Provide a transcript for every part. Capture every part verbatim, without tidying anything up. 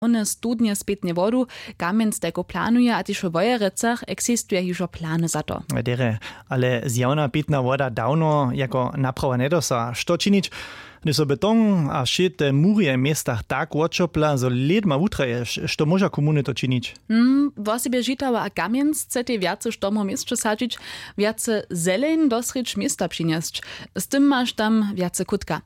Hłowne studnje spětnje wodu, kamjenc tajko planuje a tež w wojerecach eksistuje hižo plany za to. Derje, ale zjawna pitna woda dawno jako naprawa njedosa. Što činić, hdyž so beton a wšě te murje w městach tak woćopla zo lědma wutraje? Što móža komuny to činić? Hm, wosebje žitała a kamjenc chce tej wjace štomow w měsće sadźić, wjace zeleń do srědź města přinjesć. Z tym maš tam wjace kutka.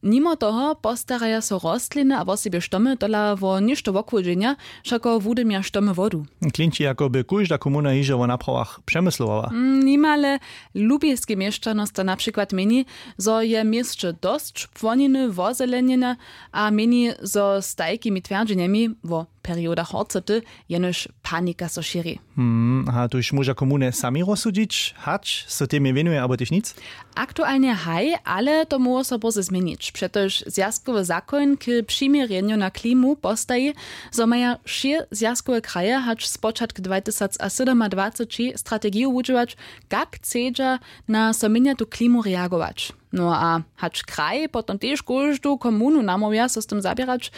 Nimo toho postaraja so rostliny a wosebje štomy tola wo něšto wochłódźenja, wšako wudymja štomy wodu. Klinči jako by kóžda komuna hižo wo naprawach přemyslowała. Hm, nimale lubiske měšćanosta na přikład měni, zo je w měsće dosć płoniny wozelenjena, a měni zo z tajkimi twjerdźenjemi wo periodach horcoty jenož panika so šěri. Hm, a tuž móža komuny sami rozsudźić, hač so temje wěnuje abo tež nic? Aktualnje haj, ale to móhło so bórze změnić, přetož zwjazkowy zakoń k přiměrjenju na klimu postaji, zo maja wšě zwjazkowe kraje hač spočatk dwatysacsydomadwaceći strategiju wudźěłać, kak chcedźa na so měnjatu klimu reagować. No a hač kraj potom tež kóždu komunu namołwja so z tym zaběrać.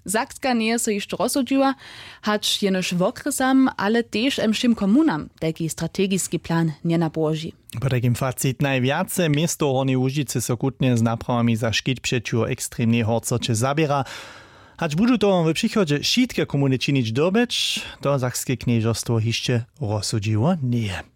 Sakska njeje so hišće rozsudźiła, hač jenož wokrjesam ale tež wšěm komunam tajki strategiski plan njenapołoži. Po tajkim facit najwjace město hornjeje łužicy so kutnje z naprawami za škit přećiwo ekstremnej horcoće zaběra. Hač budu to w přichodźe wšitke komuny činić dyrbjeć, to sakske knježerstwo hišće rozsudźiło njeje.